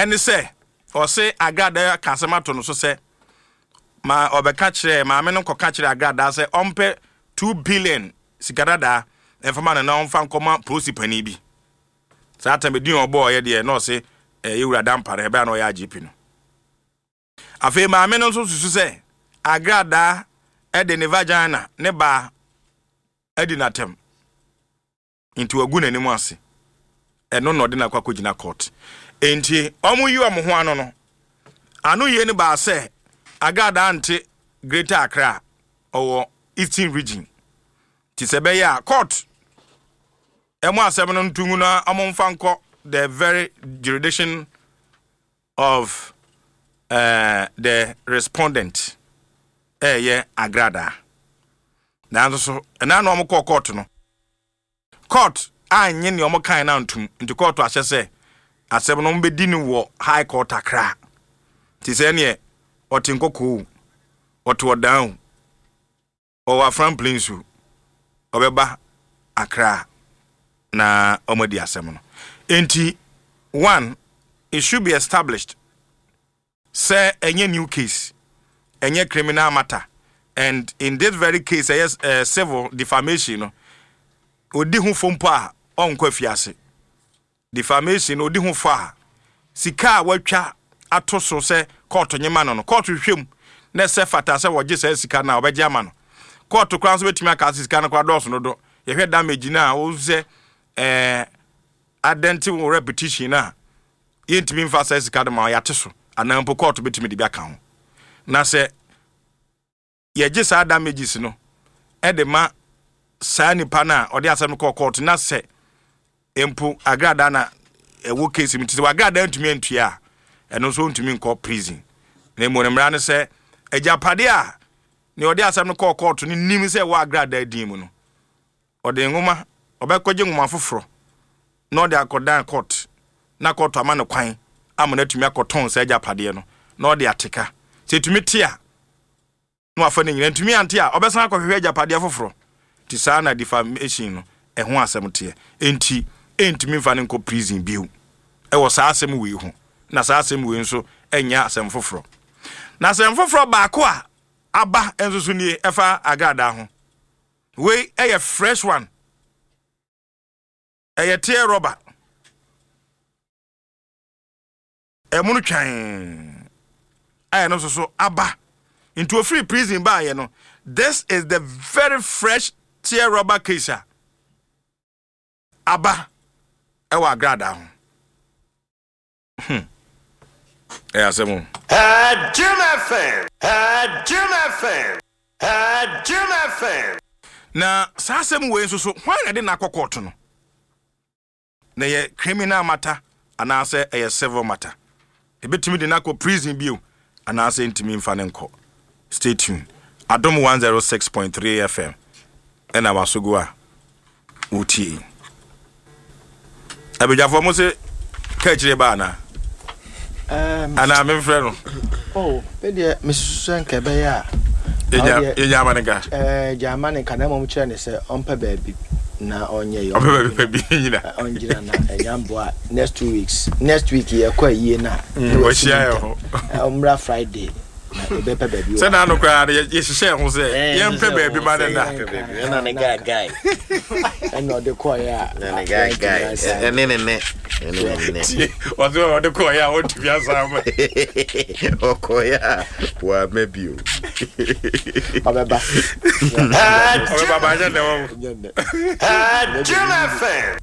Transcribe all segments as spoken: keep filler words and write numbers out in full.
Ɛne sɛ ɔse Agradaa ka asɛm ato no so sɛ ma ɔbɛka kyerɛ maame no, nkɔka kyerɛ Agradaa sɛ ɔmpɛ two billion sika dadaa ɛmfama no na ɔmfa nkɔma polisi panin bi. Saa tam edin a ɔbɔɔ ɔyɛ deɛ na ɔse ɛyɛ Wura Dampare, ɛbɛyɛ na ɔyɛ I G P no. Afei maame no nso susu sɛ Agradaa ɛde ne vagina ne baa adi n'atɛm, nti wagu n'anim ase. Ɛno na ɔde n'akɔ akɔgyina court. Nti ɔmo yi ɔmo ho ano no, ano yie no baa sɛ Agradaa nte Greater Accra, ɔwɔ Eastern Region, nti sɛ ɛbɛyɛ a court ɛmo asɛm no ntungu na ɔmo mfa nkɔ the very jurisdiction of uh, the respondent, ɛyɛ Agradaa. Nanso so ɛna na ɔmo kɔɔ court no, court anyɛ nea ɔmo kan na ntum, nti court ahyɛ sɛ asɛm no ɔmo bɛdi no wɔ High Court Accra. Nti sɛ neɛ ɔte Nkɔkɔɔ o, ɔte Ɔdan o, ɔwɔ Afram Plains o, ɔbɛba Accra na ɔmo adi asɛm no. Nti one, it should be established sɛ ɛnyɛ new case, ɛnyɛ criminal matter, and in this very case ɛyɛ uh, civil defamation no, odi ho fo mpo a, ɔnkɔ afiase. Defamation no, odi ho fo a, sika a watwa ato so sɛ kɔɔto nyema no no kɔɔto hwehwɛ mu na ɛsɛ fata sɛ wɔgye saa sika no a, ɔbɛgye ama no. Kɔɔto koraa nso bɛtumi aka sɛ sika no koraa dɔɔso no do. Yɛhwɛ damage no a wɔn sɛ ɛɛ adɛnte wɔ reputation no a, yɛntumi mfa saa sika no ma yɛate so, anaa mpo kɔɔto bɛtumi de bi aka ho. Na sɛ yɛgye saa damages no ɛde ma saa nipa no a ɔde asɛm no kɔɔ kɔɔto, na sɛ mpo Agradaa na ɛwɔ case mu, nti sɛ Agradaa ntumi antua a, ɛno nso ntumi nkɔ prison. Na mmom ne mmara no sɛ agyapadeɛ a nea ɔde asɛm no kɔɔ kɔɔto no nim sɛ ɛwɔ Agradaa din mu no, ɔde nwoma ɔbɛkɔgye nwoma foforɔ na ɔde akɔdan court, na court ama no kwan ama no atumi akɔtɔn saa agyapadeɛ no na ɔde ateka. Sɛ ɛtumi te a, na wafa no nyina. Ntumi ante a, ɔbɛsan akɔhwehwɛ agyapadeɛ foforɔ. Nti saa na defamation no ɛho asɛm teɛ. Enti ɛntumi mfa no nkɔ prison bio ɛwɔ saa asɛm wei ho. Na saa asɛm wei nso ɛnyɛ asɛm foforɔ. Na asɛm foforɔ baako a aba nso so nie, ɛfa Agradaa ho. Wei ɛyɛ fresh one, ɛyɛ tear rubber, ɛmo no twan a ɛno nso so aba. Nti ofiri prison baayɛ no, this is the very fresh tear rubber case a aba ɛwɔ Agradaa ho. hmm. Ɛyɛ asɛm o. Jim F M. Jim F M. Jim F M. Na saa asɛm wei nso so, hwan na de n'akɔ court no? Na ɛyɛ criminal matter anaasɛ ɛyɛ civil matter? Ebɛtumi de n'akɔ prison bio anaasɛ ntumi mfa ne nkɔ? Stay tuned. Adom one oh six point three F M ɛna wasogo a wotie. Abadwafoɔ mo se ka akyire ba anaa anaa memfrɛ no? Oh, me deɛ mesusu sɛ nka ɛbɛyɛ a yɛnya ama ne nka. Ɛɛ, gya ama ne nka, na mmom kyerɛ ne sɛ ɔmpɛ baabi na ɔnyɛ yɛ. Ɔmpɛ baabi pa bi nyina. Ɔngyina na ɛnya mboa. Next two weeks, next week yɛkɔ ayie na wɔhyia yɛ hɔ. Ɔmmra Friday na yɛbɛpɛ baabi wɔ. Sɛ na ano koraa no yɛhyehyɛ ho sɛ yɛmpɛ baabi ma ne da. Ɛna ne guy guy. Ɛna ɔde kɔɔyɛ a na ne guy guy ɛne ne ne ɛne ne ne. Tie, ɔsɛ ɔde kɔɔyɛ a wɔntumi asan ma. Ɔkɔyɛ a wama bio. Ɔbɛba. Ɔbɛba ba nyɛ nnɛ wɔ. Nyɛ nnɛ. Jim F M.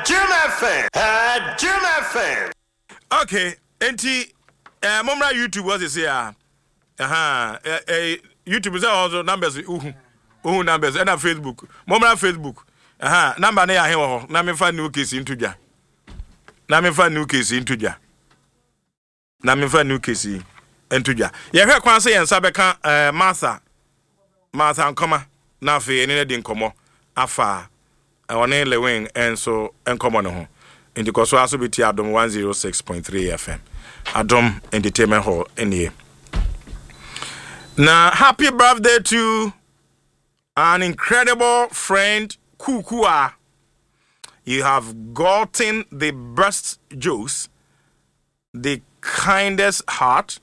Jim F M. Jim F M. Okay, enti eh, mommra YouTube hɔ sese a aha eh, eh, YouTube sɛ hɔ so numbers, uhu uhu numbers, ɛna Facebook, mommra Facebook aha, number no yɛ ahe wɔ hɔ na memfa new case nto dwa, na memfa new case nto dwa, na memfa new case yi nto dwa. Yɛhwɛ kwan sɛ yɛn nsa bɛka eh, Martha Martha Nkɔma, na afei ɛne no di nkɔmmɔ afa ɔne Lewin nso nkɔmmɔ no ho. Nti kɔ so aso bi ti Adom one oh six point three F M, Adom Entertainment Hall nie. Na happy birthday to an incredible friend, Kukua. You have gotten the best jokes, the kindest heart,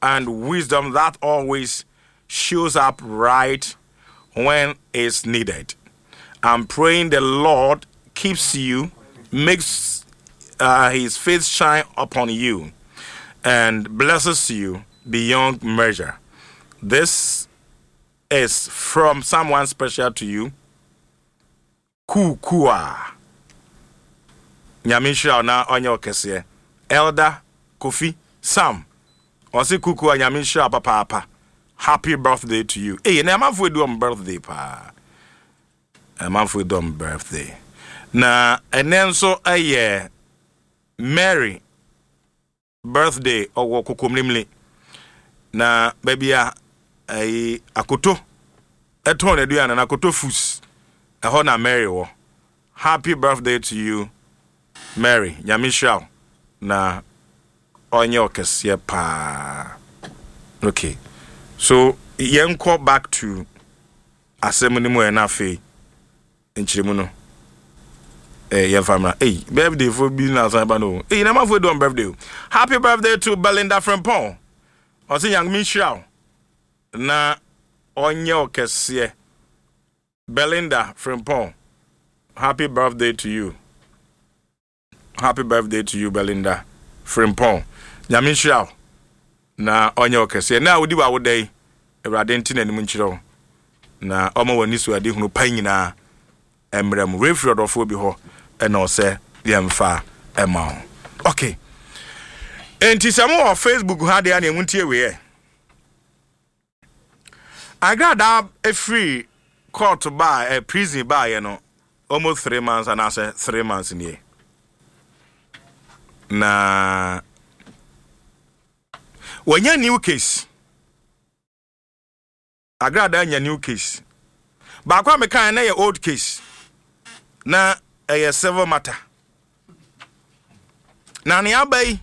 and wisdom that always shows up right when it's needed. I'm praying the Lord keeps you, makes uh, his face shine upon you, and blesses you beyond measure. This is from someone special to you. Kukua. Nyame nhyira wo na ɔnyɛ wo kɛseɛ. Elder Kofi Sam. Ɔse Kukua, Nyame nhyira wo papaapa. Happy birthday to you. Hey, na amanfoɔ edi wɔn birthday paa. Amanfoɔ edi wɔn birthday. Na ɛnɛ nso ɛyɛ Mary birthday, ɔwɔ Kokomlimli. Na baabi a ɛyi akoto ɛtɔn n'aduane na Akoto Foods, ɛhɔ na Mary wɔ. Happy birthday to you, Mary. Nyame nhyira wo na ɔnyɛ ɔkɛseɛ paa. Okay, so yɛnkɔ back to asɛm no mu ɛ, na afei nkyerɛmu no eh, yɛmfa mmra. Ei, birthday fo bi na asan ba no o. Ei, na amanfoɔ edi wɔn birthday o. Happy birthday to Belinda Frempong. Ɔse Nyame nhyira wo na ɔnyɛ ɔkɛseɛ. Belinda Frempong, happy birthday to you. Happy birthday to you, Belinda Frempong. Nyame nhyira wo na ɔnyɛ ɔkɛseɛ. Na wodi w'awoda yi, Awurade nte n'anim nkyerɛ wo na ɔma w'ani so ade hunu pa nyinaa mmerɛ mu. Refiri ɔdɔfoɔ bi hɔ ɛna ɔsɛ yɛmfa ɛma wo. Okay, enti sɛ mowɔ Facebook ha deɛ a, ne ɛmu ntie weiɛ. Agradaa efiri court baa eh, prison baayɛ no almost three months anaasɛ three months nie na wɔnya new case. Agradaa nya new case baako a mekaa na yɛ old case, na ɛyɛ civil matter, na nea aba yi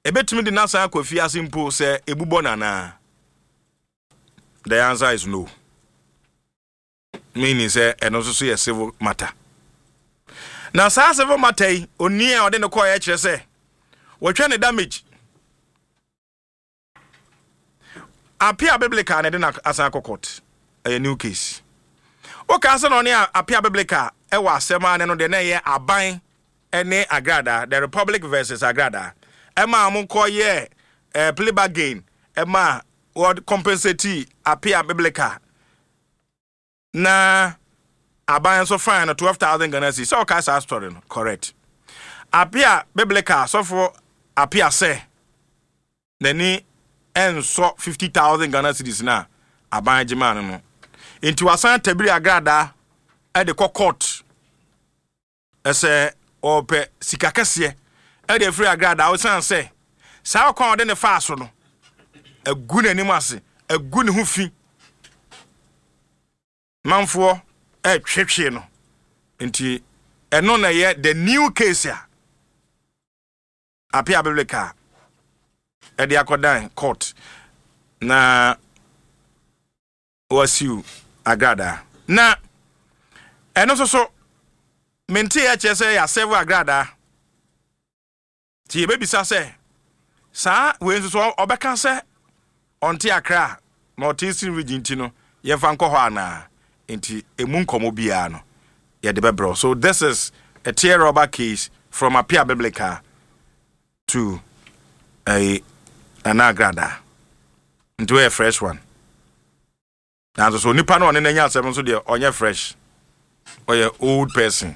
ebetumi de n'asan akɔ fiase mpo sɛ ebubɔ nanaa. The answer is no, meaning sɛ ɛno nso so yɛ civil matter. Na saa civil matter yi, oni a ɔde ne kɔɔ yɛ kyerɛ sɛ wɔtwa ne damage. Apia Biblical na ɛde na asan akɔ court, ɛyɛ new case. Wokaa sɛ na ɔne Apia Biblical ɛwɔ asɛm a ne no deɛ na ɛyɛ aban ɛne Agrada, the Republic versus Agrada, ɛma a mo kɔ yɛ ɛɛ plea bargain, ɛma wɔde compensate Apia Biblical na aban nso fine no twelve thousand Ghana cedis. Sɛ ɔka saa story no correct, Apia Biblical, sɔfo Apia sɛ n'ani ɛnsɔ fifty thousand Ghana cedis na aban gye maa no no nti wasan tabiri Agradaa ɛde kɔ court ɛsɛ ɔpɛ sika kɛseɛ ɛde afiri Agradaa, ɔsan sɛ saa ɔkwan a ɔde ne faa so no agu n'anim ase, agu ne ho fi, manfoɔ ɛtwetwe no. Nti ɛno na ɛyɛ the new case a Apia Biblical ɛde akɔdan court na wasiw Agradaa. Na ɛno nso so mente yɛ kyerɛ sɛ yɛa serve Agradaa, nti yɛbɛbisa sɛ saa wei nso so ɔbɛka sɛ ɔnte Akra na ɔte Eastern Region, nti no yɛmfa nkɔ hɔ anaa? Nti emu nkɔmmɔ biara no yɛde bɛbrɛ. So this is a tear rubber case from Apia Biblical to ɛyi Nana Agradaa, nti wɔyɛ fresh one. Nanso so nipa no ɔne n'anya asɛm nso deɛ, ɔnyɛ fresh, ɔyɛ old person.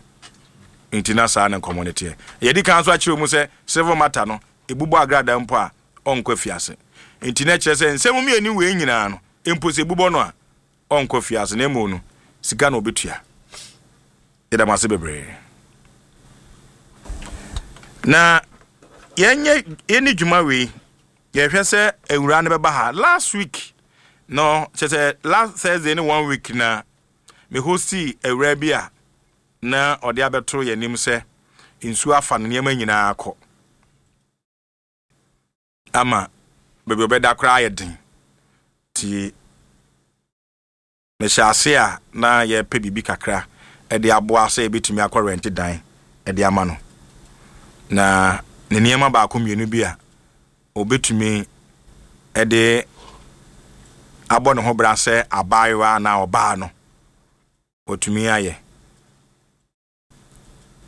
Nti na saa ne nkɔmmɔ no teɛ. Yɛdi kan nso akyerɛ mu sɛ civil matter no ebubɔ Agradaa mpo a, ɔnkɔ fiase. Nti na kyerɛ sɛ nsɛm mmienu wei nyinaa no mpo, sɛ ebubɔ no a, ɔnkɔ fiase, na emu no sika na obetua. Yɛda mo ase bebree na yɛnyɛ yɛni dwuma wei. Yɛhwɛ sɛ awura no bɛba ha. Last week no, kyerɛ sɛ last Thursday ne one week na me hosti awura bi a na ɔde abɛto yɛn anim sɛ nsuo afa no, nneɛma nyinaa kɔ ama baabi ɔbɛda koraa ayɛ den. Nti mehyɛ ase a na yɛpɛ biribi kakra Ɛde aboa sɛ yɛbɛtumi akɔ rent dan ɛde ama no, na ne nneɛma baako mmienu bi a obɛtumi ɛde abɔ ne ho bra sɛ abaayewa anaa ɔbaa no, wɔtumi ayɛ.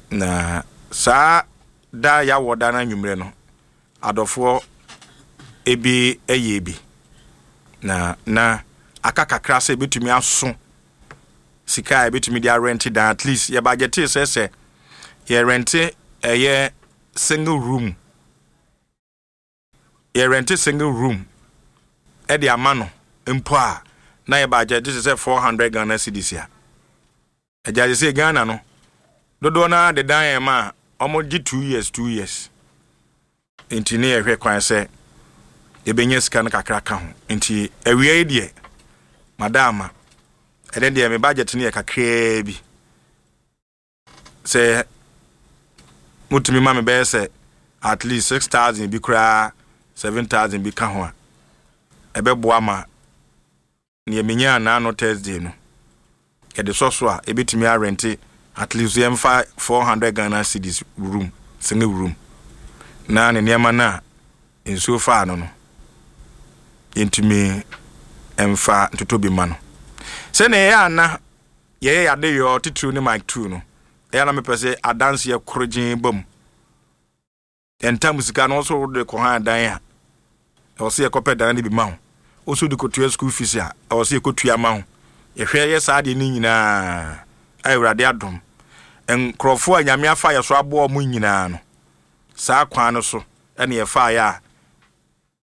Na saa da yɛawɔ da no anwummerɛ no, adɔfoɔ ebi ɛyɛ bi na na aka kakra sɛ ebɛtumi aso sika a ebɛtumi de arent dan. At least yɛ budget sɛ sɛ yɛrent ɛyɛ single room, yɛrent single room ɛde ama no mpo a, na yɛ budget sɛ four hundred Ghana cedis a agya sɛ Ghana no dodoɔ no de dan yɛn ma a wɔgye two years, two years. Nti ne yɛhwɛ kwan sɛ yɛbɛnya sika no kakra ka ho. Nti awia yi deɛ, madama, ɛnɛ deɛ me budget no yɛ kakraa bi sɛ motumi ma me bɛyɛ sɛ at least six thousand bi koraa, seven thousand bi ka ho a, ɛbɛboa ma nea menya naano Thursday no yɛde sɔ so a, ebɛtumi arent at least yɛmfa four hundred Ghana cedis room, single room, na ne nneɛma no a nsuo faa no no yɛntumi mfa ntoto bi ma no. Sɛnea ɛyɛ ana yɛyɛ yɛade yɛ titiriw ne mic two no, ɛyɛ na mepɛ sɛ adanseɛ korogyen ba mu. Yɛntam sika no nso wode kɔ han dan a, ɛwɔ sɛ yɛkɔpɛ dan no bi ma ho. Wo so de kɔtua school fees a, ɛwɔ sɛ yɛkɔtua ma ho. Yɛhwɛ yɛ saa deɛ no nyinaa a, Awurade adom, nkurɔfoɔ a Nyame afa yɛ so aboa mu nyinaa no, saa kwan no so ɛne yɛfaeɛ a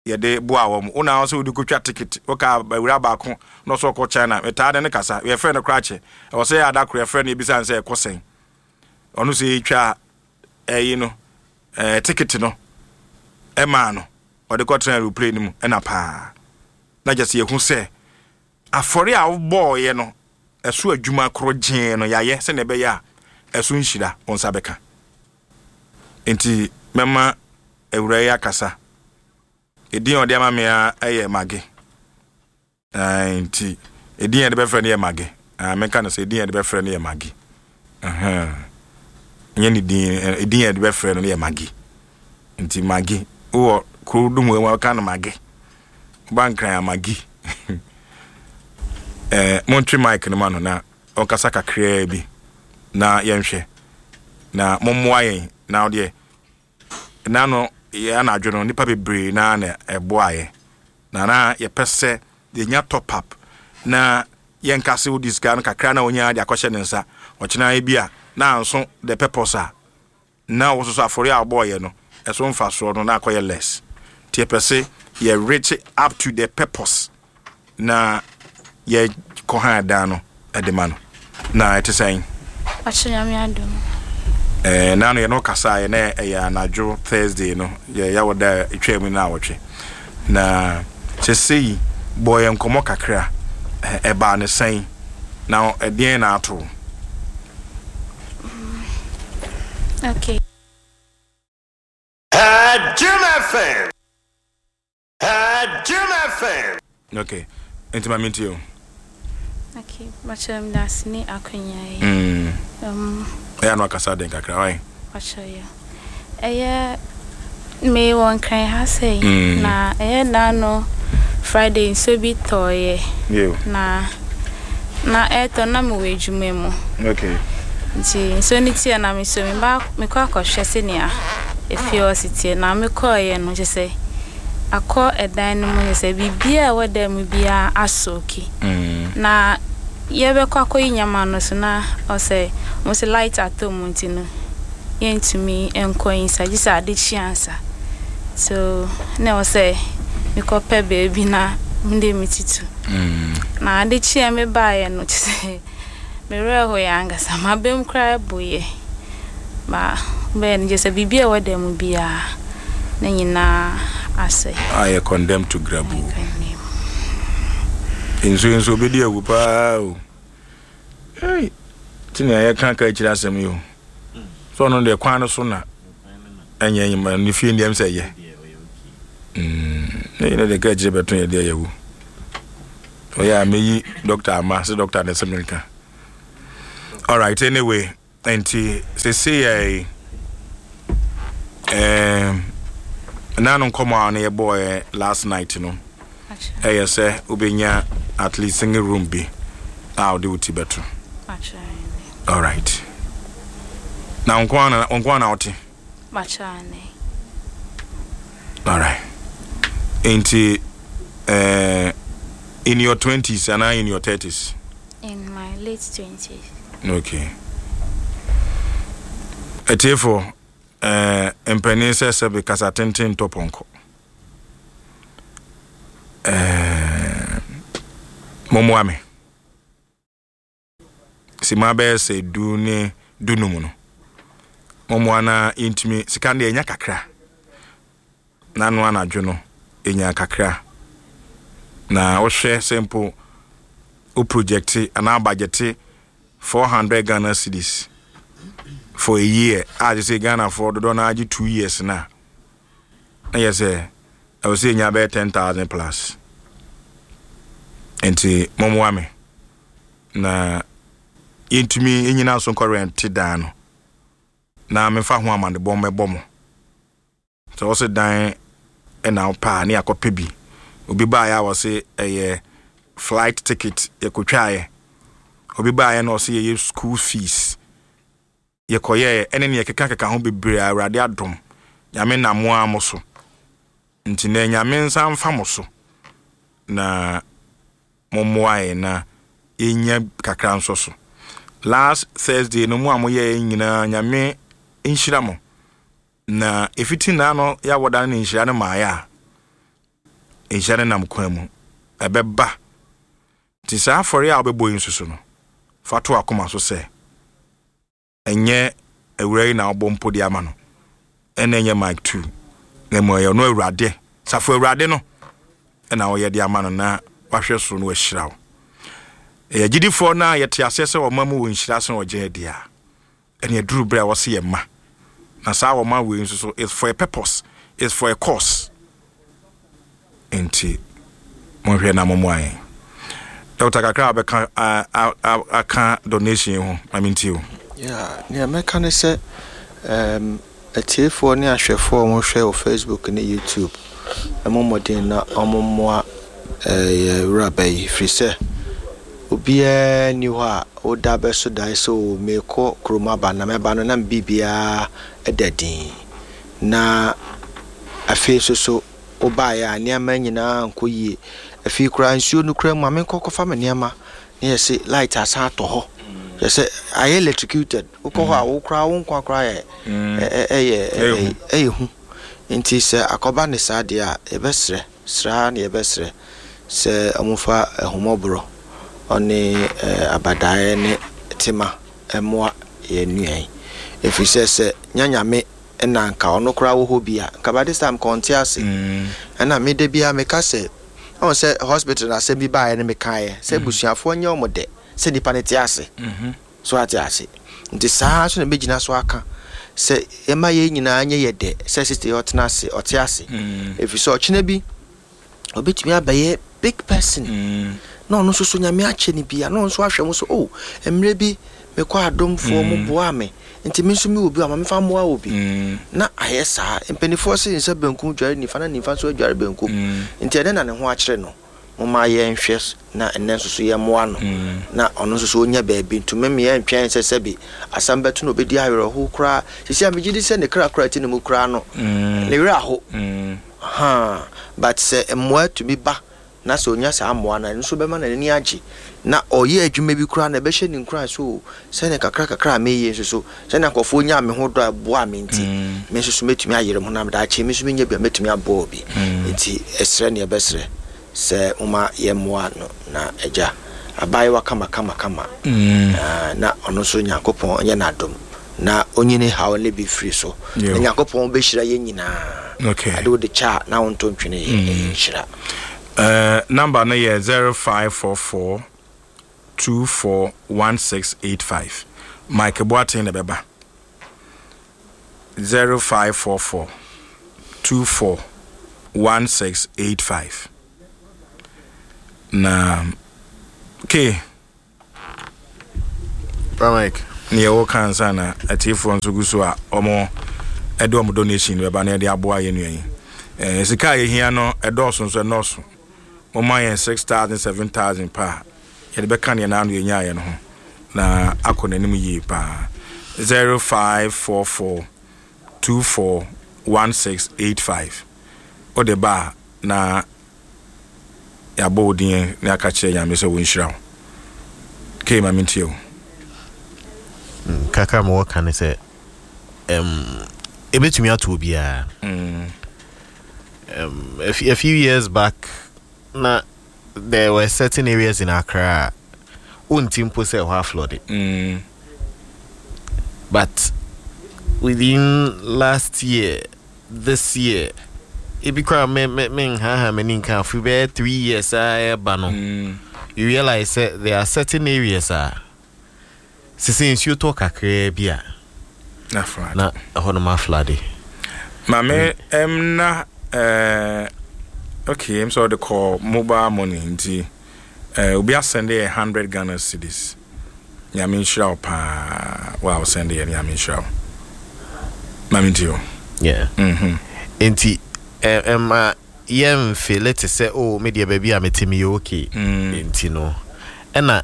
yɛde boa wɔn. Wo na sɛ wode kɔtwa ticket, woka awura baako na ɔsɛ ɔkɔ China, metaa ne ne kasa, yɛfrɛ no koraa kyɛ. Ɛwɔ sɛ yɛ ada koro yɛfrɛ no, yɛbisa no sɛ ɛkɔ sɛn. Ɔno sɛ yɛtwa ɛyi no, ɛɛ ticket no ɛmaa no, ɔde kɔtena aeroplane no mu ɛna paa na kyɛ sɛ yɛhu sɛ afɔre a wobɔɔyɛ no ɛso adwuma koro gyee no yɛayɛ sɛnea ɛbɛyɛ a ɛso nhyira wo nsa bɛka. Nti mɛma awura yi akasa. Ɛdin a ɔde ama me a ɛyɛ Mage. Nti ɛdin a yɛde bɛfrɛ no yɛ Mage. Menka no sɛ ɛdin a yɛde bɛfrɛ no yɛ Mage, nyɛ ne din. Ɛdin a yɛde bɛfrɛ no yɛ Mage. Nti Mage wowɔ kuro dum wɔ mu a, wɔka no Mage, woba Nkran a, Mage. eh, montwe mic no ma no na ɔnkasa kakraa bi na yɛnhwɛ na mommoa yɛn. Na ɔdeɛ nano yɛ anadwo no, nipa bebree na na ɛboa yɛ na na yɛpɛ sɛ yɛnya top up na yɛnka sɛ wodi sika no kakra na wonya de akɔhyɛ ne nsa ɔkyena bi a na anso the purpose a na wo soso afɔre a wɔbɔɔyɛ no ɛso mfasoɔ no na akɔyɛ less. Nti yɛpɛ sɛ yɛ reach up to the purpose na yɛkɔ ha dan no ɛde ma no. Na ɛte sɛn? Akyɛ, Nyame adom. Eh, na no yɛne kasa yɛ na ɛyɛ anadwo Thursday no, yɛ yɛwɔ da ɛtwa mu no awɔtwe na sɛsei bɔ yɛ nkɔmmɔ kakra. Ɛbaa ne sɛn na ɛdeɛn na ato? Okay. Jim F M. Jim F M. Okay, nti ma mentie o. Okay, makyerɛ m daase ne akonnwa yi. Mm. Um, ɛyɛ no akasa den kakra ɔyɛ. Makyerɛ yɛ. Ɛyɛ mewɔ Nkran ha sɛi. Mm. Na ɛyɛ naano Friday nsuo bi tɔɔyɛ. Yo. Na na ɛtɔ na mewɔ adwuma mu. Okay. Nti nsuo no teɛ na meso meba mekɔ akɔhwɛ sɛnea efie hɔ si teɛ, na mekɔɔyɛ no kyerɛ sɛ akɔ ɛdan no mu, kyerɛ sɛ biribiara a ɛwɔ dan mu biara asooki. Mm. Na yɛbɛkɔ akɔyi nneɛma no so na ɔsɛ ɔmo sɛ light atɔ mu, nti no yɛntumi nkɔ inside gye sɛ ade kye ansa. So na ɛwɔ sɛ mekɔpɛ baabi na mede me ti to. Mm. Na ade kye a mebaeɛ no, kyerɛ sɛ mewerɛ hoeɛ ankasa, m'abam koraa buyɛ. Ba bɛyɛ no kyerɛ sɛ biribi a ɛwɔ dan mu biara ne nyinaa asɛe. Ayɛ condemned to grabu. Nsuo nso obɛdi awu paa o. Ei, nti nea yɛka ka akyiri asɛm yi o, sɛ ɔno deɛ kwan no so na ɛnyɛ nyima ne fie ndeɛm sɛ ɛyɛ ne yɛne de ka akyire bɛto yɛ deɛ yɛwu. Ɔyɛ a meyi doctor ama sɛ doctor ne sɛ menka. Alright, anyway, nti sese yɛ um, na no nkɔmmɔ a no yɛbɔɔ last night no, ɛyɛ sɛ wobɛnya at least single room bi a wode wo ti bɛto. Alright, na nko ara na nko ara na wote? Alright, nti uh, in your twenties and in your thirties? In my late twenties. Okay. Atiefo, eh, mpanin sɛ sɛbe kasa tenten ntɔ pɔnkɔ. Eh, mommoa me. Sima bɛyɛ sɛ du ne dunum no. Mommoa na yɛntumi, sika no deɛ ɛnya kakra. Na no anadwo no, ɛnya kakra. Na wohwɛ sɛ mpo wo project anaa budget four hundred Ghana cedis for a year a kyerɛ sɛ Ghanafoɔ dodoɔ no agye two years na na yɛ sɛ ɛwɔ sɛ ɛnya bɛyɛ ten thousand plus. Nti mommoa me na yɛntumi nyina so nkɔ rent dan no na memfa ho amanebɔ mmɛbɔ mo. Sɛ wɔ sɛ dan ɛna wopɛ a ne yɛakɔpɛ bi. Obi baeɛ a wɔ se ɛyɛ flight ticket yɛkɔtwaeɛ. Obi baeɛ na ɔse yɛyɛ school fees yɛkɔyɛɛ, ɛne ne yɛkeka keka ho bebree a Awurade adom Nyame nam mo a mo so. Nti na Nyame nsa mfa mo so na mommoa yɛn na yɛnya kakra nso so. Last Thursday no mu a moyɛɛ nyinaa, Nyame nhyira mo. Na ɛfiti naa no yɛawɔda no ne nhyira no maayɛ a nhyira no nam kwan mu ɛbɛba. Nti saa afɔre a wobɛbɔ yi nso so no, fa to akoma so sɛ ɛnyɛ awura yi na wobɔ mpo de ama no, ɛna ɛnyɛ Mike two, na mmom ɛyɛ ɔno Awurade safo Awurade no ɛna wɔyɛ de ama no na wahwɛ so no wahyira wo. Ɛyɛ gyidifoɔ no a yɛte aseɛ sɛ ɔma mu wɔ nhyira so ɔgye adi a ɛne aduru berɛ a wɔse yɛ ma. Na saa wɔma wei nso so is for a purpose, is for a cause. Nti monhwɛ na mommoa yɛn. Doctor, kakra a wobɛka aka donation ho ma mentie o. Yeah, nea mɛka ne sɛ um, atiefoɔ ne ahwɛfoɔ a wɔhwɛ wɔ Facebook ne YouTube, ɛmo mmɔden na ɔmo mmoa yɛ wuraba yi, firi sɛ obiara nni hɔ a woda bɛso dae sɛ o meekɔ kurom aba na mɛba no na me biribiara da din. Na afei nso so wobaeɛ a nneɛma nyinaa nkɔ yie. Afei koraa nsuo no koraa mu a menkɔ kɔfa me nneɛma na yɛse light asan atɔ hɔ, yɛ sɛ ayɛ electrocuted. Wokɔ hɔ a wo koraa wo nkwa koraa yɛ ɛyɛ ɛyɛ hu. Nti sɛ akɔba ne saa deɛ a, yɛbɛsrɛ sraa na yɛbɛsrɛ sɛ ɔmofa ahumɔborɔ ɔne abadaeɛ ne tema mmoa yɛn nua yi, ɛfiri sɛ sɛ nyanyame ɛna nka ɔno koraa wɔ hɔ bi a nka by this time nka ɔnte ase. Ɛna me da biara meka sɛ ɔn sɛ hospital na asɛm bi baeɛ no, mekaeɛ sɛ abusuafoɔ nyɛ ɔmo dɛ sɛ nipa no te ase so ate ase. Nti saa nso na mɛgyina so aka sɛ yɛma yɛn nyinaa nyɛ yɛ dɛ sɛ sister yi ɔtena ase, ɔte ase, ɛfiri sɛ ɔkyena bi ɔbɛtumi abɛyɛ big person na ɔno nso so Nyame akyɛ no bi a na ɔno nso ahwɛ mo so, oh, mmerɛ bi mekɔ adomfoɔ mo boa me, nti me nso mewɔ bi a ma mefa mmoa wɔ bi na ayɛ saa. Mpanimfoɔ se nsa benkum dware nifa na nifa nso adware benkum, nti ɛnɛ na ne ho akyerɛ no. Moma yɛnhwɛ na ɛnɛ nso so yɛmmoa no na ɔno nso so ɔnya baabi ntumi mmea ntwɛn sɛ sɛbi asɛm bɛto na obɛdi awerɛho koraa. Sisi a megye di sɛ ne kra koraa ti ne mu koraa no ne werɛ aho ha, but sɛ mmoa tumi ba na sɛ onya saa mmoa no, ɛno nso bɛma n'ani agye na ɔyɛ adwuma bi koraa na ɛbɛhyɛ ne nkuran so sɛne kakra kakra a meyɛ nso so sɛne nkurɔfoɔ nya me ho dɔ a ɛboa me, nti me nso so mɛtumi ayere ho na daakye me nso menya bi a mɛtumi aboa obi. Nti ɛsrɛ ne yɛbɛsrɛ sɛ moma yɛmmoa no na agya abaayewa kama kama kama na ɔno nso Nyankopɔn nyɛ n'adom na onyini haw ne bi firi so na Nyankopɔn bɛhyira yɛn nyinaa. Ade wode kyɛ a na wonto ntwene yɛ ɛyɛ nhyira. Uh, number no yɛ zero five four four two four one six eight five. Mike Boateng na bɛba. zero five four four two four one six eight five. Na ke Bra Mike. Neɛ wɔka ansa na atiefoɔ nso gu so a ɔmo ɛde ɔmo donation bɛba na yɛde aboa yɛn nua yi. ɛɛ sika a yɛhia no ɛdɔɔso nso ɛnɔɔso. Moma yɛn six thousand seven thousand paa, yɛde bɛka neɛ naano yɛnyaeɛ no ho na akɔ n'anim yie paa. zero five four four two four one six eight five wode ba a na yɛabɔ wo din na yɛaka kyerɛ Nyame sɛ wɔnhyira wo. Kei ma mentie wo. Kakra ma wɔka ne sɛ um, ɛbɛtumi ato obiara. Mm. um, a, few, a few years back na there were certain areas in Accra a wonti mpo sɛ ɛhɔ aflood. Mm. But within last year, this year, ebi koraa me me me nhaha m'ani nka afi bɛyɛ three years a ɛba no, Mm. you realize sɛ there are certain areas a sese nsuo tɔ kakraa bi a Na flood. Na ɛhɔ nom aflood. Maame ɛm na ɛɛ okay, m sɛ ɔde kɔ mobile money nti ɛɛ obi asend yɛ hundred Ghana cedis. Nyame nhyira wo paa wa a ɔsend yɛ no, Nyame nhyira wo. Maame nti o. Yeah. Mhm. Nti ɛ ɛma yɛmfeel te sɛ, oh, me deɛ, baabi a mete meyɛ okay. Mm. Nti no ɛna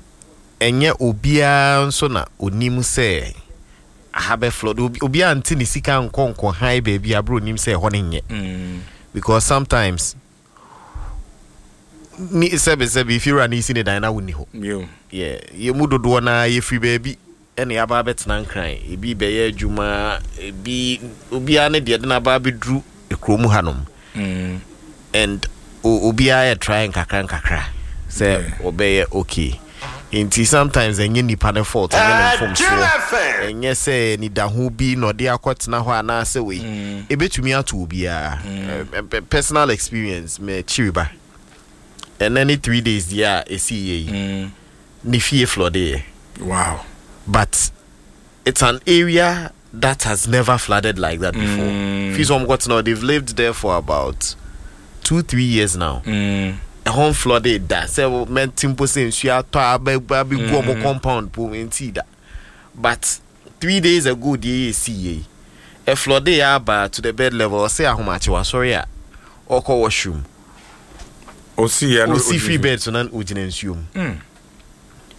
ɛnyɛ obiara nso na onim sɛ aha bɛ flood. Obi obiara nte ne sika nkɔ nkɔ han baabi abere onim sɛ ɛhɔ ne nyɛ, Mm. because sometimes ni sɛbi sɛbi efiewura ne esi ne dan na wonni hɔ. Yo. Yɛ yɛ mu dodoɔ naa yɛfiri baabi ɛna yɛaba abɛtena Nkran, ebi bɛyɛ adwuma, ebi obiara ne deɛ de n'aba abɛduru kurom hanom Mm. and o- obiara yɛ try nkakra nkakra sɛ Yeah. ɔbɛyɛ okay. Nti sometimes ɛnyɛ nipa ne fault, ɛnyɛ ne Jim mfomsoɔ, F M. ɛnyɛ sɛ nidaho bi na ɔde akɔtena hɔ anaasɛ wei. Mm. Ebetumi ato obiara. Ɛ- ɛ- personal experience, mɛ kyiriba ɛnɛ ne three days deɛ a esi yie yi, Mm. ne fie flooded, Wow. but it's an area that has never flooded like that before. Mm. Fi sɛ ɔmo kɔtena hɔ, they've lived there for about two three years now. Mm. Ɛhɔ flooded da sɛ mɛnti mpo sɛ nsuo atɔ a abɛ abɛgu ɔmo Mm. compound po nti da, but three days ago deɛ yɛ esi yie yi, ɛflooded aba to the bed level. Ɔsɛ ahomakye wasɔre a ɔkɔ washroom, Osi yɛ no. osi free bed so na ogyina nsuo mu. Mm.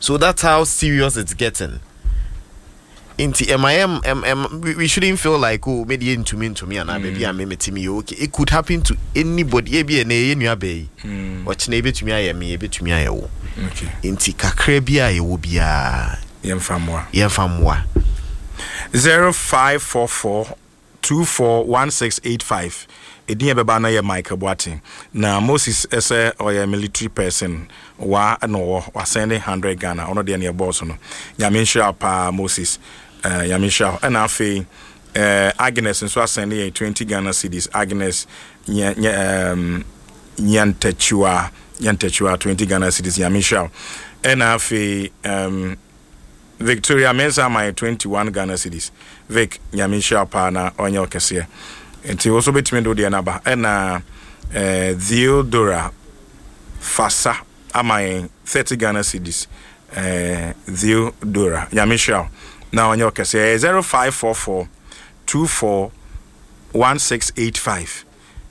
So that's how serious it's getting. Nti ɛma yɛ ɛm ɛm we, we shouldn't feel like, oh, me deɛ ntumi ntumi anaa baabi a me mete me yɛ okay. It could happen to anybody. Ebi ɛnɛ ɛyɛ nua bɛɛ yi, Mm. ɔkyena ebetumi ayɛ me, ebetumi ayɛ wo. Okay. Nti kakra bi a yɛwɔ biara, Yɛmfa mmoa. Yɛmfa mmoa. zero five four four two four one six eight five. Edin yɛ bɛba no yɛ Michael Boateng. Na Moses ɛsɛ ɔyɛ military person wa na ɔwɔ wasend hundred Ghana. Ɔno deɛ ne ɛbɔɔ so no. Nyame nhyira wo paa, Moses. Ɛɛ Nyame nhyira wo. Ɛna afei ɛɛ Agnes nso asend yɛ twenty Ghana cedis. Agnes nyɛ nyɛ ɛɛm Nyantakyiwa Nyantakyiwa, twenty Ghana cedis. Nyame nhyira wo. Ɛna afei ɛɛm. Victoria Mensa ama yɛ twenty-one Ghana cedis. Vic, Nyame nhyira wo paa na ɔnyɛ ɔkɛseɛ. Nti wo nso bɛtumi de wo deɛ no aba. Ɛna eh, Theodora Fasa ama yɛn thirty Ghana cedis. Eh, Theodora, Nyame nhyira wo na ɔnyɛ ɔkɛseɛ. Ɛyɛ zero five four four two four one six eight five.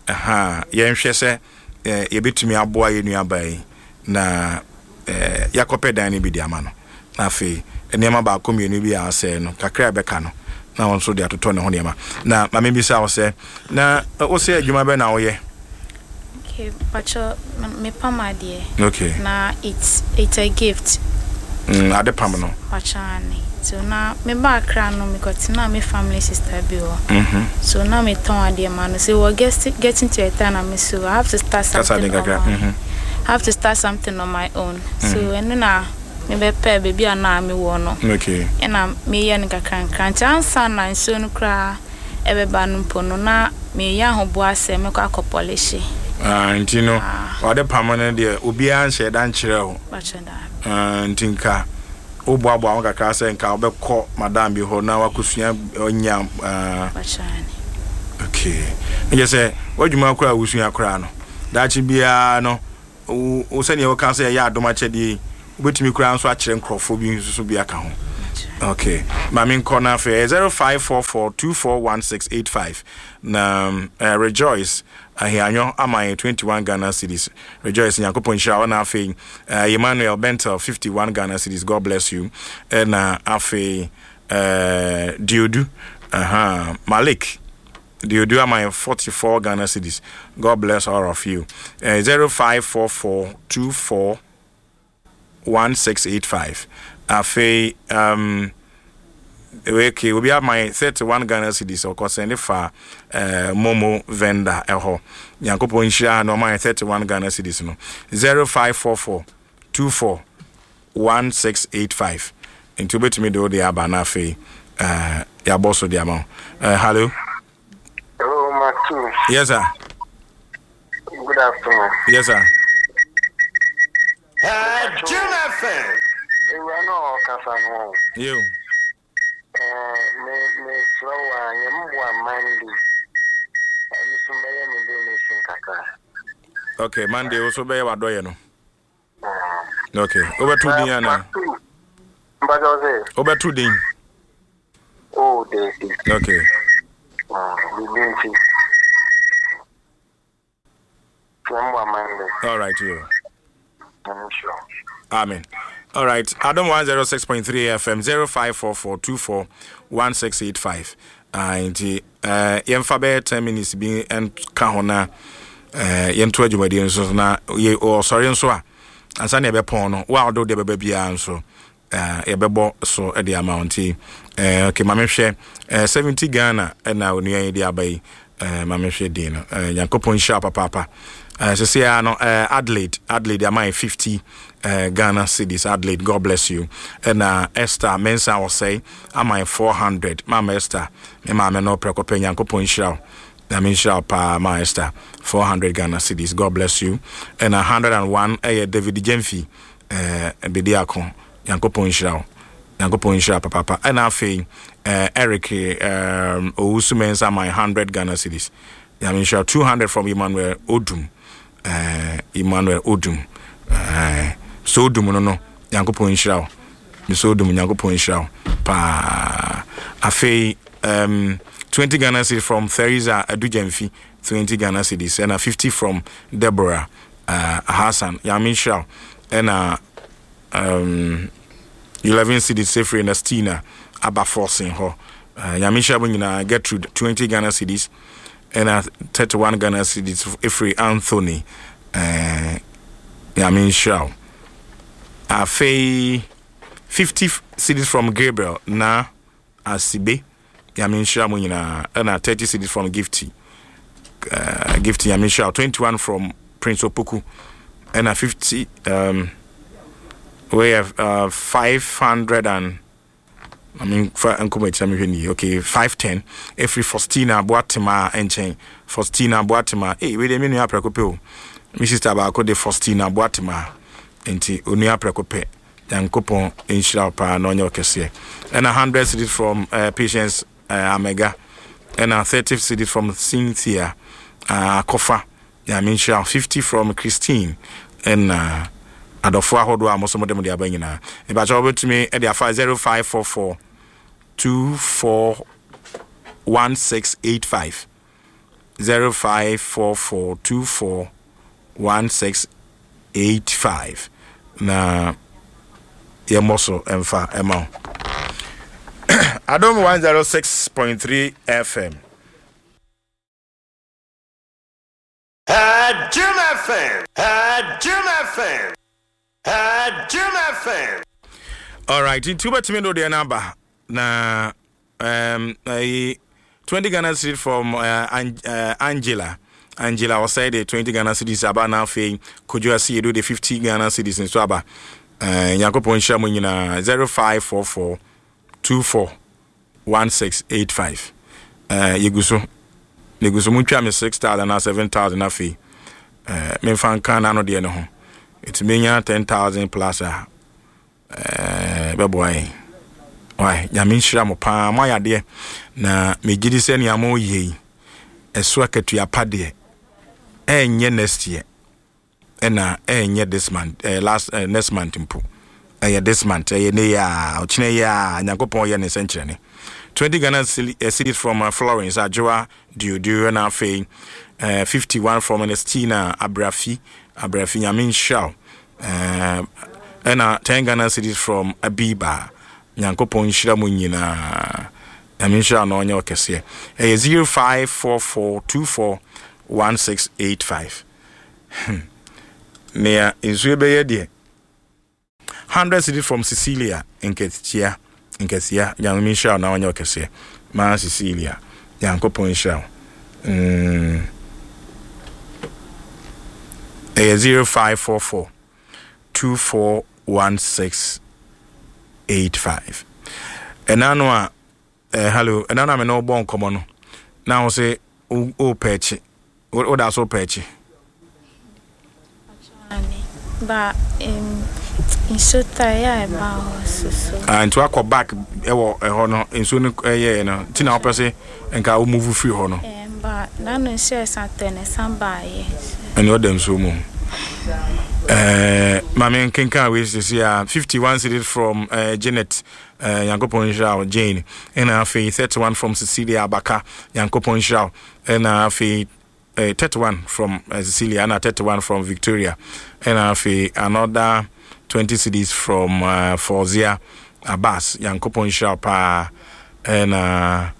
Aha, yɛnhwɛ sɛ eh, yɛbɛtumi aboa yɛn nuabaa yi na eh, yɛakɔpɛ dan no bi de ama no, na afei nneɛma baako mmienu bi a asɛe no kakra a ɛbɛka no na wɔn nso de atotɔ ne ho nneɛma. Na maame bisa wo sɛ na eh, wo sɛ adwuma bɛ na woyɛ? Okay, pacho, mepam adeɛ. Okay. Na it's it's a gift. mm, ade pam no. Pacho ane. So na meba Accra no, mekɔtena me family sister bi hɔ. Mhm. So na metɔn adeɛ ma no. So we're getting getting to a time na me so I have to start Kasa something den on kakra. my Mhm. I have to start something on my own. So ɛno na mebɛpɛ baabi a na mewɔ no. Okay. Ɛna meyɛ no kakra nkra. Nti ansa na nsuo no koraa ɛbɛba no mpo no, na meyɛ ahoboa sɛ mɛkɔ akɔ polish. Ah, nti no Ah. ɔde pam no deɛ obiara nhyɛ da nkyerɛ wo? Pacho da. Ah, nti nka woboaboa ho kakra sɛ nka wobɛkɔ madam bi hɔ na wakɔsua ɔnya ah, Pacho ane. Okay, ɛkyɛ sɛ w'adwuma koraa a wosua koraa no, daakye biara no wo wo sɛneɛ woka sɛ ɛyɛ adom akyɛdeɛ yi, wobɛtumi koraa nso akyerɛ nkurɔfoɔ bi nso so bi aka ho. Pacho. Okay, maame nkɔ no afei zero five four four two four one six eight five na um, uh, Rejoice Ahianyo ama yɛ twenty one Ghana cedis. Rejoice, Nyankopɔn nhyira wo. Na afei uh, Emmanuel Bentel fifty one Ghana cedis, God bless you. Ɛna afei uh, Diodu uh-huh, Malik Diodu ama yɛ forty four Ghana cedis. God bless all of you. Uh, zero five four four two four one six eight five. Afei um, okay, obi ama yɛ thirty one Ghana cedis, ɔkɔ sɛnde fa uh, MoMo vendor ɛhɔ. Nyankopɔn nhyira na ɔma yɛ thirty one Ghana cedis no. zero five four four two four one six eight five. Nti wobɛtumi de wode aba na afei uh, yɛabɔ so de ama wo. Uh, hello Hello, Matthew. Yes, sir. Good afternoon. Yes, sir. Jim F M. Ewura no a ɔkasa no, Yo. eh, me mesrɛ wo a yɛmboa Monday. Ɛno so bɛyɛ me donation kakra. Okay, Monday wo so bɛyɛ wadɔyɛ no. Okay, wobɛto din ana? Matthew, mpakyɛ wo sɛ, Wobɛto din? Oh, David. Okay. Biribi nti. Yɛmboa Monday. All right, yo. I'm sure. Amen. All right. Adom one oh six point three F M, zero five four four two four one six eight five. Ah, nti uh, yɛmfa bɛyɛ ten minutes bi nka ho na uh, yɛnto adwumadie nso so na yɛ ɔsɔre nso a ansa na yɛbɛpɔn no, wo a wode wo deɛ bɛba biara nso uh, yɛbɛbɔ so de ama wo. Nti uh, okay, ma mehwɛ uh, seventy Ghana ɛna onua yi de aba yi. uh, ma mehwɛ din no. uh, nyankopɔn nhyira wo papaapa. uh, sɛsɛ a no uh, Adelaide Adelaide ama yɛ fifty uh, Ghana cedis. Adelaide, God bless you. Ɛna Esther Mensa ɔsɛe ama yɛ four hundred. Mama Esther, me maame no prɛko pɛ, Nyankopɔn nhyira wo na menhyira wo paa. Ma Esther four hundred Ghana cedis, God bless you. Ɛna one hundred and one ɛyɛ David Jemfi uh, Bediako, Nyankopɔn nhyira wo, Nyankopɔn nhyira papaapa. Ɛna afei uh, Eric um, Owusu Mensa ama one hundred Ghana cedis, Nyame nhyira. two hundred from Emmanuel Odum, uh, Emmanuel Odum, uh, so Odum no no Nyankopɔn nhyira wo. Mesɛ Odum, Nyankopɔn nhyira wo paa. Afei um, twenty Ghana cedis from Theresa Adujamfi, twenty Ghana cedis. Ɛna fifty from Deborah uh, Hassan, Nyame nhyira wo. Ɛna um, eleven cedis sefiri Nastina aba forcing hɔ. uh, nyame nhyira mo nyinaa. Gertrude, twenty Ghana cedis. Ɛna thirty-one Ghana cedis ɛfiri Anthony. uh, nyame nhyira wo. Afei fifty cedis from Gabriel na Asibe, Nyame nhyira mo nyinaa. Ɛna thirty cedis from Gifty, uh, Gifty, Nyame nhyira wo. twenty-one from Prince Opoku. Ɛna fifty, um, we have uh, five hundred and, I mean, fa nkɔmɔ ekyir mi hwɛ ni. Okay, five ten efiri Faustina Boatema nkyɛn. Faustina Boatema, ee, wei de mi nua aprɛko pɛ o, mi sister baako de Faustina Boatema, nti onua aprɛko pɛ, Nyankopɔn nhyira wo paa na ɔnyɛ ɔkɛseɛ. Ɛna hundred cedis from uh, Patience uh, Amega. Ɛna thirty cedis from Cynthia uh, Akɔfa, Nyame nhyira wo. fifty from Christine. Ɛna adɔfoɔ ahodoɔ a mo nso mode mo de aba nyinaa, mepakyɛ wobɛtumi de afa zero five four four two four one six eight five, zero five four four two four one six eight five, na yɛmmɔ so ɛmfa ɛma wo. Adom one oh six point three F M. Jim F M. Jim F M. Jim F M. Alright, nti wobɛtumi de wodeɛ no aba na um, uh, twenty Ghana cedis from uh, An- uh, Angela Angela ɔsɛe de twenty Ghana cedis aba. Na afei Kodwo Asiedu de fifty Ghana cedis nso aba. uh, nyankopɔn nhyira mu nyinaa. zero five four four two four one six eight five. uh, yɛgu so, yɛgu so. Montwa me six thousand anaa seven thousand, afei uh, memfa nka n'ano deɛ no ho. Ɛtumi menya ten thousand plus a uh, bɛboa yɛn. Wai, Nyame nhyira mo paa, moayɛ adeɛ na megye di sɛ nea moyɛ yi ɛso akatua pa deɛ ɛnyɛ next year, ɛna ɛnyɛ this month, eh, last eh, next month mpo. Ɛyɛ this month, ɛyɛ ne yɛ a ɔkyena yɛ a Nyankopɔn yɛ ne nsɛnkyerɛnne. twenty Ghana cedis from uh, Florence Adwoa Duoduo, na afei uh, fifty-one from Ernestina Abrafi Abrafi, Nyame nhyira wo. Uh, ɛna ten Ghana cedis from Abiba. Nyankopɔn nhyira mu nyinaa. Nyame nhyira na ɔnyɛ ɔkɛseɛ. Ɛyɛ zero five four four two four one six eight five. Nea nsuo bɛyɛ deɛ, hundred cedis from Cecilia Nketia Nketia. Nyame nhyira na ɔnyɛ ɔkɛseɛ maa Cecilia. Nyankopɔn nhyira wo. mm. Ɛyɛ zero five four four two four one six eight five. Ɛna no a eh, hello, ɛna no a me ne wobɔ nkɔmmɔ no na wo sɛ wopɛ akyi, woda so wopɛ akyi. Ba um, nsuo tae a ɛba hɔ soso. Ah, nti wakɔ back ɛwɔ ɛhɔ no, nsuo no ɛyɛɛ no nti na wopɛ sɛ nka wo move firi hɔ no? Um, ba n'ano nsuo a ɛsan tɔ no ɛsan baayɛ. Ɛne ɔda nsuo mu. Eh, maame nkenkan wei sisi a, fifty-one cedis from uh, Janet, uh, Nyankopɔn nhyira wo Jane. Ɛna afei thirty-one from Cecilia Abaka, Nyankopɔn nhyira wo. Ɛna afei uh, thirty-one from uh, Cecilia, ɛna thirty-one from Victoria, ɛna afei another twenty cedis from uh, Fauzia Abbas, Nyankopɔn nhyira wo paa. Ɛna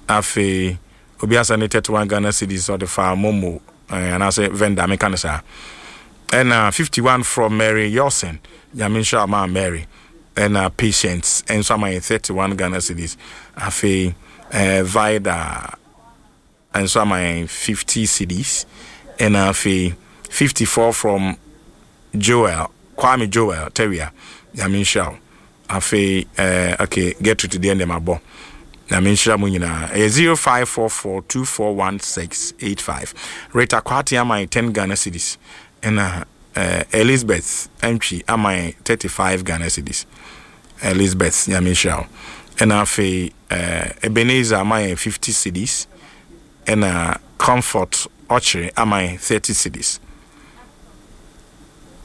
afei obi asa ne thirty-one Ghana cedis, ɔde fa MoMo uh, anaasɛ vendor meka no saa. Ɛna fifty-one from Mary Yosen, Nyame nhyira ma Mary. Ɛna Patience ɛnso ama yɛ thirty-one Ghana cedis. Afei eh, Vida nso ama yɛn fifty cedis. Ɛna afei fifty-four from Joel Kwame Joel Teria, Nyame nhyira wo. Afei eh, okay, Gertrude deɛ ndɛm abɔ. Nyame nhyira mu nyinaa. Ɛyɛ zero five four four two four one six eight five. Rita Kwate ama yɛn ten Ghana cedis. Ɛna eh, Elizabeth Antwi ama yɛn thirty-five Ghana cedis. Elizabeth, Nyame nhyira wo. Ɛna afei eh, Ebenezer ama yɛn fifty cedis. Ɛna Comfort Ɔkyere ama yɛn thirty cedis.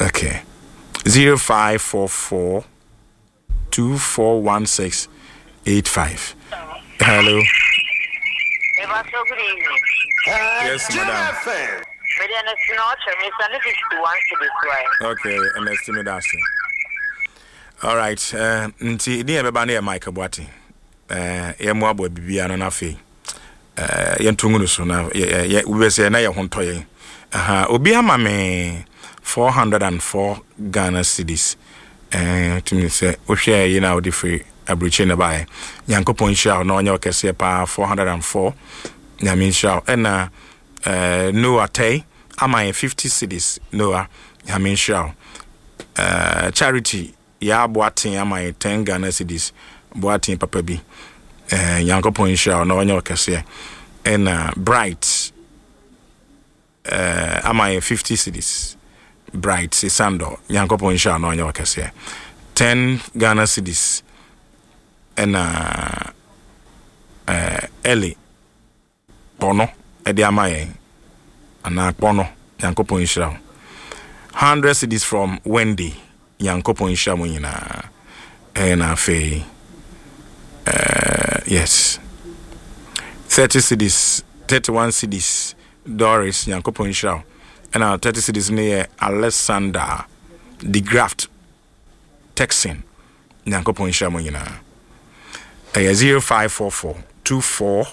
Okay, zero five four four two four one six eight five. Hello. Eba, good evening. Yes, madam. F M. Mede Ernestina Ɔkyere, Mister ne fifty-one cedis right. Okay, Ernestine, medase. All right, uh, nti din yɛ bɛba no yɛ Mike Boate. uh, yɛmmoaboa biribiara no no afei uh, yɛnto ngu no so na wobɛsɛ na yɛ ho ntɔ yɛn. Aha, obi ama me four hundred and four Ghana cedis. uh, tumi sɛ wohwɛ yi na wode firi aburokyire no baeɛ. Nyankopɔn nhyira wo na ɔnyɛ wo kɛseɛ paa. four hundred and four, Nyame nhyira wo. Ɛna uh, Noah Tɛi ama yɛ fifty cedis. Noah, Nyame nhyira wo. uh, Charity yɛ Aboaten ama yɛ ten Ghana cedis. Boaten papa bi, uh, Nyankopɔn nhyira wo na ɔnyɛ wo kɛseɛ. Ɛna Bright uh, ama yɛ fifty cedis. Bright Sesando, Nyankopɔn nhyira wo na ɔnyɛ wo kɛseɛ. ten Ghana cedis. Ɛna uh, Eli Kpɔno ɛde ama yɛn anaa Kpɔno, Nyankopɔn nhyira wo. hundred cedis from Wendy, Nyankopɔn nhyira mo nyinaa. Ɛna afei uh, yes, thirty cedis, thirty-one cedis, Doris, Nyankopɔn nhyira wo. Ɛna thirty cedis no yɛ Alexander De Graft Texan, Nyankopɔn nhyira mo nyinaa. Ɛyɛ zero five four four two four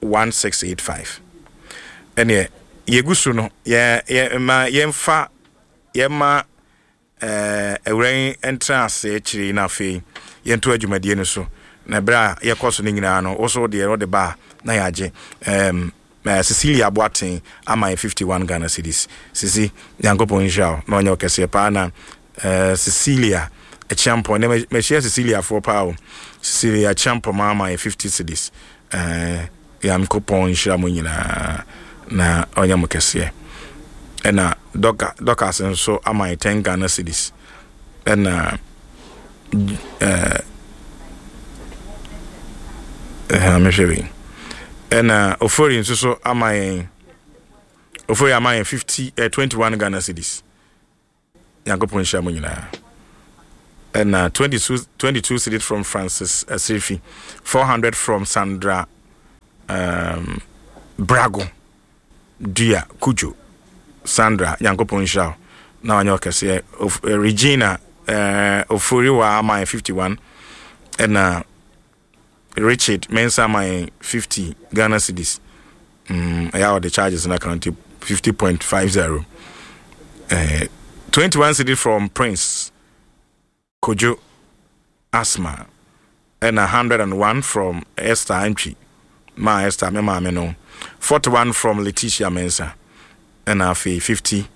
one six eight five. Ɛneɛ yɛgu so no, yɛ yɛ ma yɛmfa yɛma ɛɛ awura yi ntena ase akyire yi, na afei yɛnto adwumadie no so. Na berɛ a yɛkɔ so no nyinaa no, wo so deɛ wode ba a na yɛagye. ɛɛm uh, Cecilia Boaten ama yɛ fifty-one Ghana cedis. Sisi, Nyankopɔn nhyira wo na ɔnyɛ wo kɛseɛ paa. Na uh, Cecilia Akyiampɔ ne mahyia Ceciliafoɔ paa o. Cecilia Akyiampɔ ma ama yɛ fifty cedis. uh, Nyankopɔn nhyira mo nyinaa na ɔnyɛ mo kɛseɛ. Ɛna Dɔka Dɔkas nso ama yɛ ten Ghana cedis. Ɛna ɛɛ ɛhɛn mehwɛ wei. Ɛna Ofori nso so ama yɛn, Ofori ama yɛn fifty ɛ twenty one Ghana cedis. Nyankopɔn nhyira mo nyinaa. Ɛna twenty-two, twenty-two cedis from Francis Asirifi, four hundred from Sandra um, Brago Dua Kujo. Sandra, Nyankopɔn nhyira wo na wanyɛ ɔkɛseɛ. Of- eh, Regina uh, Oforiwa ama yɛn fifty-one, ɛna Richard Mensa ama yɛn fifty Ghana cedis. mm, ɛyɛ a ɔde charges no account fifty point five zero. uh, twenty-one cedis from Prince Kojo Asma, ɛna one hundred and one from Esther Antwi ma Esther me maame no, forty-one from Letitia Mensa, ɛna afei fifty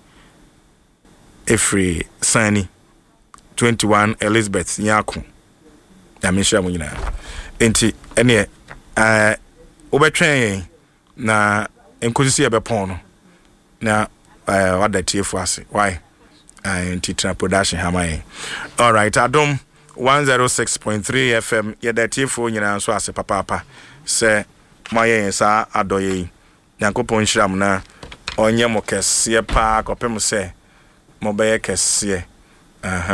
ɛfiri Sani, twenty-one Elizabeth Nyako. Nyame nhyira mu nyinaa. Nti ɛneɛ ɛɛ wobɛtwɛn yɛn na nkosi sɛ yɛbɛpɔn no na ɛɛ wada tiefo ase why. ɛɛ nti tena production ha ma yɛn. Alright, Adom one oh six point three F M, yɛda tiefoɔ nyinaa nso ase papaapa sɛ moayɛ yɛn saa adɔyɛ yi. Nyankopɔn nhyira mo na ɔnyɛ mo kɛseɛ paa kɔpem sɛ mobɛyɛ kɛseɛ. Aha.